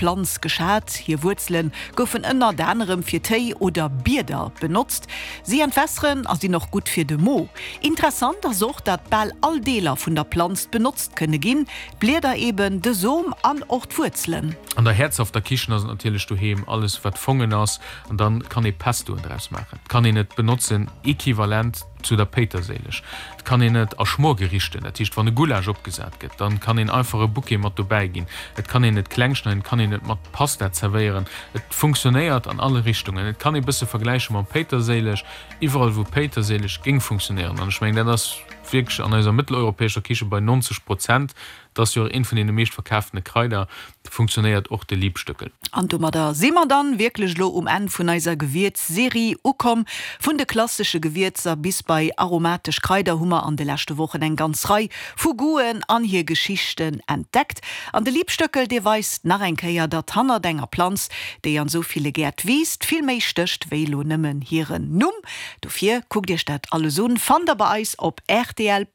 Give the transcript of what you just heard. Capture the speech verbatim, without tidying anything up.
Planz geschat. Hir Wuerzele goufen ënnert anerem fir Téi oder Bieder benotzt. Si entwässeren a sinn och gutt fir de Mo. Interessant ass och, datt bal all Deeler vun der Planz benotzt kënne ginn, d'Blieder eben, de Som an och d'Wuerzelen. An der häerzhafter Kichen ass et natierlech doheem alles wat Fongen ass an dann kann ee Pestoen draus maachen. Et kann een et benotzen equivalent zu der Péiterséileg. Et kann een et a Schmorgerichten, dat heescht wann e Gulasch opgesat gëtt, dann kann een einfach e Bouquet mat dobäi ginn. Et kann een et kleng schneiden, et kann een et mat Pasta zerwéieren. Et funktionéiert an alle Richtungen. Et kann ee bësse vergläiche mam Péiterséileg, iwwerall wou Péiterséileg géing funktionéieren, an ech mengen dat ass wierklech an eiser mëtteleuropäescher Kiche bei neunzeg Prozent, dat ass jo och eent vun deene meescht verkaftene Kraider, funktionéiert och de Liebstöckel. An domadder si mer dann wierklech elo um Enn vun eiser Gewierz-Serie ukomm. Vun de klassesche Gewierzer bis bei aromatesch Kraider hu mer an de leschte Wochen eng ganz Rei vu Goûten an hir Geschichten entdeckt. An de Liebstöckel, dee weist nach eng Kéier, datt hannert enger Planz, déi an esou ville Gäert wiisst, vill méi stécht wéi elo nëmmen hiren Numm. Dofir kuckt iech dat alles un, fannt der bei eis op rtl.